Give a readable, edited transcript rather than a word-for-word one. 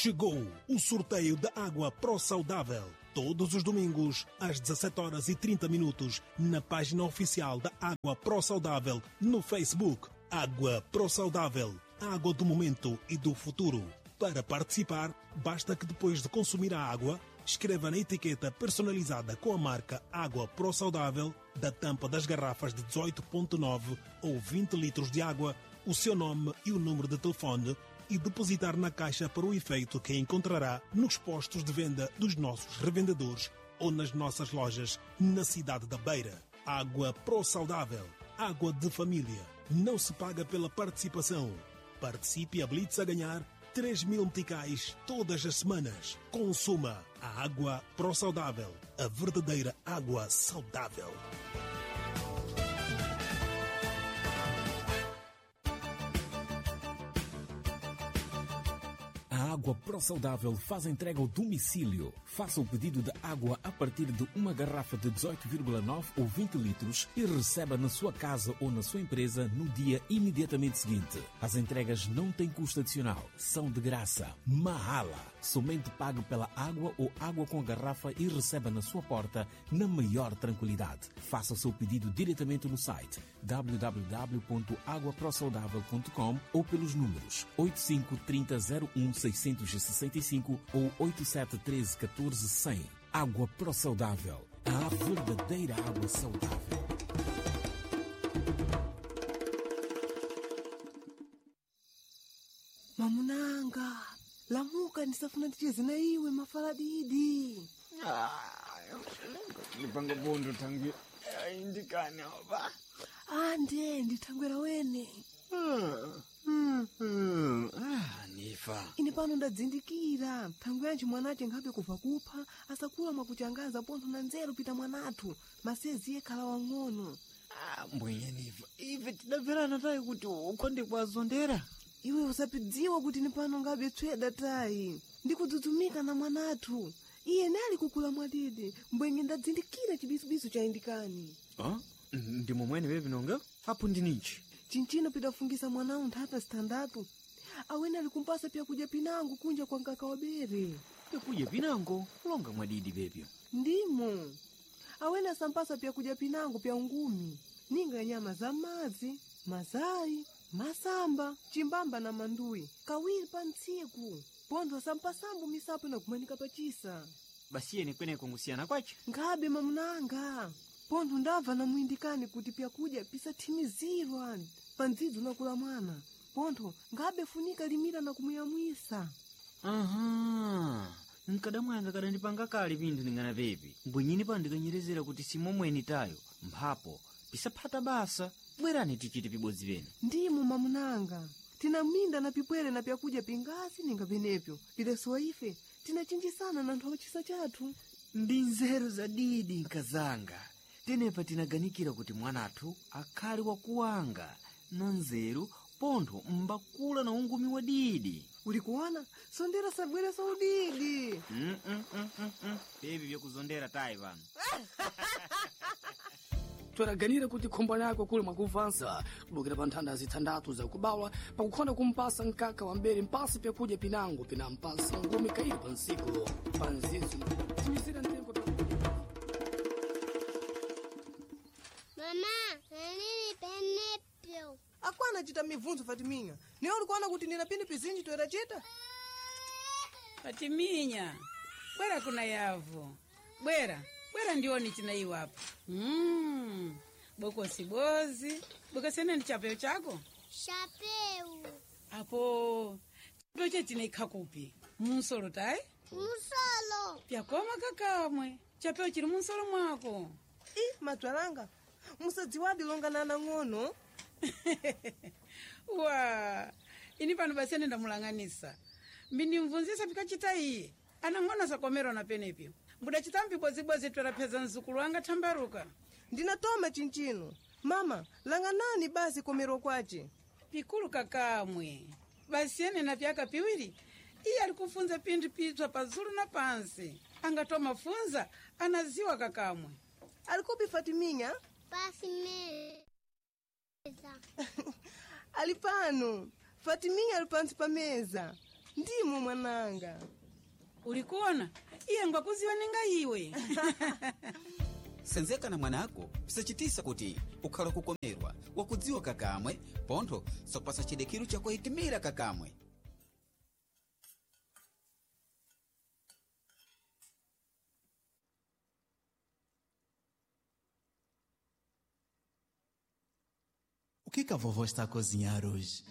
Chegou o sorteio da água Pro Saudável. Todos os domingos, às 17h30, na página oficial da Água Pro Saudável no Facebook. Água Pro Saudável, a água do momento e do futuro. Para participar, basta que depois de consumir a água, escreva na etiqueta personalizada com a marca Água Pro Saudável da tampa das garrafas de 18,9 ou 20 litros de água, o seu nome e o número de telefone e depositar na caixa para o efeito que encontrará nos postos de venda dos nossos revendedores ou nas nossas lojas na cidade da Beira. Água Pro Saudável, água de família. Não se paga pela participação. Participe e habilite-se a ganhar 3 mil meticais todas as semanas. Consuma a água Pro Saudável, a verdadeira água saudável. A Água Pro Saudável faz entrega ao domicílio. Faça o pedido de água a partir de uma garrafa de 18,9 ou 20 litros e receba na sua casa ou na sua empresa no dia imediatamente seguinte. As entregas não têm custo adicional, são de graça. Mahala. Somente pague pela água ou água com a garrafa e receba na sua porta na maior tranquilidade. Faça o seu pedido diretamente no site www.aguaprosaudável.com ou pelos números 85 30 01 665 ou 87 13 14 100. Água Pro Saudável. A verdadeira água saudável. Mamunanga, lamuka ndisafuna ticheze na iwe mafala didi. Ndipanga bondo tangi indikane oba. Ande ndithangwera wene. Nifa. Ine pano ndadzindikira thangwe yanji mwanache nkhabe kubva kupha asakula mwakuchangaza pontho na nzeru pita mwanathu masezi yekhala wang'ono. Mbwenye nifa. Ife tidabverana tayi kuti ukonde kwazondera. Iwe usapidziwa kuti ni pano ngabe tsweda tayi ndikudzudzumika na mwanathu iye nali kukula mwadidi mbwenye ndadzindikira chibisubisu cha indikani. Ah, ndi momwene bebinonga? Apo ndinichi. Chinchino pidafungisa mwanawu nthata sitandatu awene ali kumpasa pyakudya pinango kunja kwa nkaka wa bere. Pyakudya pinango longa mwadidi bebyo. Ndimo awene asampasa pyakudya pinango pya ungumi ninga ya nyama za madzi, mazayi, masamba, chimbamba na manduyi kawiri pa ntsiku. Pontho asampasambo misapo inakumanika pachisa. Basiyeni kweneko ngusiyana kwache. Nkhabe mamunanga pontho ndabva namuyindikani kuti pyakudya pisathimizirwa pa ndzidzo nakula mwana pontho nkhabe funika limira na kumuyamwisa. Aha. Nkadamwanga kadandipanga kale pinthu ningana pepi. Mbwenyini pano ndikanyerezera kuti simomweni tayo. Mphapo pisaphata basa. Bwerani tichite pibodzi pene. Ndimo mamunanga tinaminda na pipwere na pyakudya pingasi ninga penepyo pilesowa ife tinachinjisana na nthu chisa chathu. Ndi nzeru zadidi nkazanga. Tenepa tinaganikira kuti mwanathu akhale wakuwanga na nzeru pontho mbakula na ungumi wa didi. Uli kuona sondera sabwere saudidi. Bebi vyakuzondera tayi pano. Tweraganira kuti khombo lako kuli mwakuvansa kubukira pa nthanda zithandatu zakubawa pakukhonda kumpasa mkaka wa mbere mpasi pyakudya pinango pinampasa ngumi kaili pa nsiku pa nzizo timizira mtengo pyakudya. Mama, nini penepyo? Akwana chita mibvunzo Fatiminya niwe ulikuona kuti nina pini pizinji toera chita. Fatiminya, bwera kuna yavo. Bwera, bwera ndione china iwapo. Bokosi bozi. Bokosi ene ni chapeo chako? Chapeu. Apo, chapeo chechineikha kupi? Munsolo tayi? Musolo. Pyakoma kakamwe. Chapeo chili munsolo mwako. I madzwalanga musadziwadi longa na anang'ono. Wa, ini pano basi ene ndamulang'anisa. Mbindimvunzisa pikachita iye. Anang'ono sakomerwa na penepyo. Mbudachita mpibozibozi twerapheza mzukulu wanga thambaruka. Ndinatoma chinchino mama langanani basi komerwa kwace. Pikulu kakamwe. Basi ene na vyaka piwiri. Iye ali kufunza pinthu pitswa pazulu na pansi. Angatoma funza anaziwa kakamwe. Alikupi Fatiminya? Pasi meza. Ali pano Fatiminya ali pansi pa meza. Ndimo mwananga. Ulikuona iye ngwakuziwa ninga iwe. Senzeka na mwanako pisachitisa kuti ukhala kukomerwa wakudziwa kakamwe pontho sakupasa chidekiru chakuhitimira kakamwe. O que que a vovó está a cozinhar hoje?